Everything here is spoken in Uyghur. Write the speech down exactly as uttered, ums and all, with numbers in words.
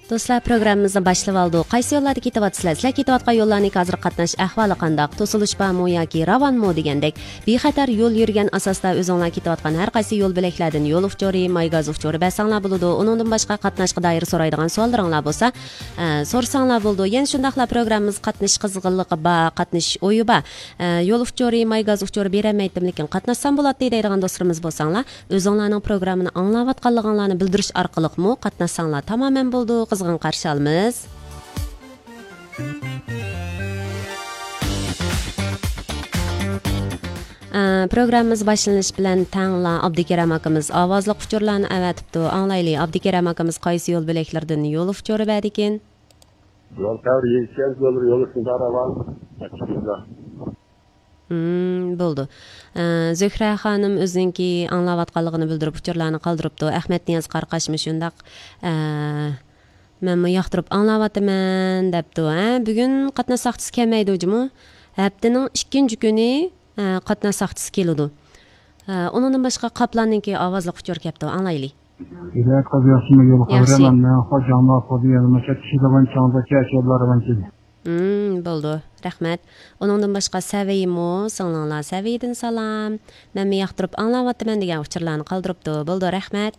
دوستلار، پروگراممىمىزنى باشلىۋالدۇق. قايسى يوللاردا كېتىۋاتىسىلەر؟ سىلەر كېتىۋاتقان يوللارنىڭكى ھازىر قاتناش ئەھۋالى قانداق؟ توسۇلۇش بارمۇ ياكى راۋانمۇ دېگەندەك بىخەتەر يول يۈرگەن ئاساستا ئۆزۈڭلار كېتىۋاتقان ھەر قايسى يول بۆلەكلەردىن يول ئۇچۇرى، ماي گاز ئۇچۇرى بەرسەڭلار بولىدۇ. ئۇنىڭدىن باشقا قاتناشقا دائىر سورايدىغان سوئاللىرىڭلار بولسا، ئە، سورىساڭلار بولىدۇ. يەنە شۇنداقلا پروگراممىمىز قاتنىشىش قىزغىنلىقى بار، قاتنىشىش ئويى بار. ئە، يول ئۇچۇرى، ماي گاز ئۇچۇرى بېرەلمەيتتىم، لېكىن قاتناشسام بولاتتى دەيدىغان دوستلىرىمىز بولساڭلار، ئۆزۈڭلارنىڭ پروگراممىنى ئاڭلاۋاتقانلىقىڭلارنى بىلدۈرۈش ئارقىلىقمۇ قاتناشساڭلار تامامەن بولىدۇ، قىزغىن قارشى ئالىمىز. ئە، پروگراممىمىز باشلىنىش بىلەن تەڭلا ئابدۇكېرەم ئاكىمىز ئاۋازلىق ئۇچۇرلارنى ئەۋەتىپتۇ. ئاڭلايلى، ئابدۇكېرەم ئاكىمىز قايسى يول بۆلەكلىرىدىن يول ئۇچۇرى بەردىكىن؟ يول تەۋر يېزىچەن يول، يول ئۈستىدە راۋان. مم، بولىدۇ. ئە، زۆھرە خانىم ئۆزىنىڭكى ئاڭلاۋاتقانلىقىنى بىلدۈرۈپ ئۇچۇرلارنى قالدۇرۇپتۇ. ئەخمەت نىياز قاراقاشمۇ شۇنداق، ئە، مەنمۇ ياقتۇرۇپ ئاڭلاۋاتىمەن دەپتۇ. ھە، بۈگۈن قاتناش ساقچىسى كەلمەيدۇ جۇمۇ. ھەپتىنىڭ ئىككىنچى كۈنى، ئە، قاتناش ساقچىسى كېلىدۇ. ئە، ئۇنىڭدىن باشقا قاپلاننىڭكى ئاۋازلىق ئۇچۇر كەپتۇ. ئاڭلايلى. ھىدايەت قازى ياخشىمۇ؟ يول خەۋىرى. ياخشى. مەن مەن خو جاڭما خودى يەنە مۇشۇ كىشىلىغان چاڭدا چەشەللەر ۋانچىن. مم، بولىدۇ. رەھمەت. ئۇنىڭدىن باشقا سەۋىيمۇ، سىڭلىڭلار سەۋىيدىن سالام. مەنمۇ ياقتۇرۇپ ئاڭلاۋاتىمەن دېگەن ئۇچۇرلارنى قالدۇرۇپتۇ. بولىدۇ، رەھمەت.